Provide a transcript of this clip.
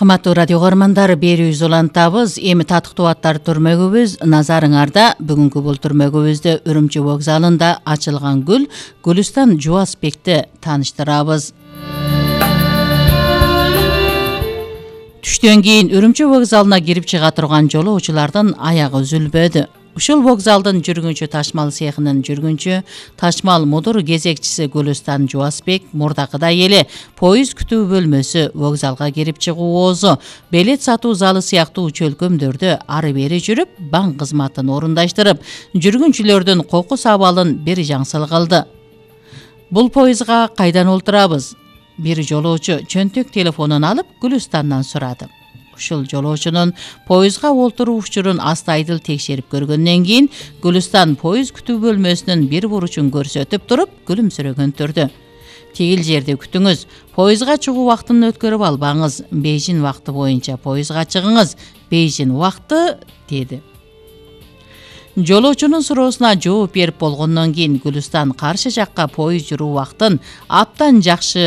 Кымбаттуу радио көрөрмандар, берүүбүз улантабыз. Эми татыктуу аттар түрмөгүбүз назарыңарда. Бүгүнкү бул түрмөгүбүздө Үрүмчү вокзалында ачылган гүл Гүлүстан Жубасбекти тааныштырабыз. Түштөн кийин Үрүмчү вокзалына кирип чыга турган жолоочулардын аягы үзүлбөдү. Ушул вокзалдын жүргүнчү ташмал цехинин жүргүнчү, ташмал мудур кезекчиси Гүлүстан Жубасбек мурдакыдай эле поезд күтүү бөлмөсү, вокзалга кирип чыгуусу, билет сатуу залы сыяктуу чөлкөмдөрдө ары бери жүрүп, банк кызматын орундаштырып, жүргүнчүлөрдүн кокус абалын бир жаңсыл кылды. Бул поездга кайдан олтурабыз? Бир жолоочу чөнтөк телефонун алып Гүлүстандан сурады. Ушул жолоочунун поездга олтуруу учурун астайдыл текшерип көргөндөн кийин Гүлүстан поезд күтүү бөлмөсүнүн бир буручун көрсөтүп туруп, күлүмсүрөгөн түрдө: "Тигил жерде күтүңүз, поездга чыгуу убактын өткөрүп албаңыз, Бейжин убакты боюнча поездга чыгыңыз, Бейжин убакты" деди. Жолоочунун суроосуна жооп берип болгондон кийин Гүлүстан каршы жакка поезд жүрүү убактын абдан жакшы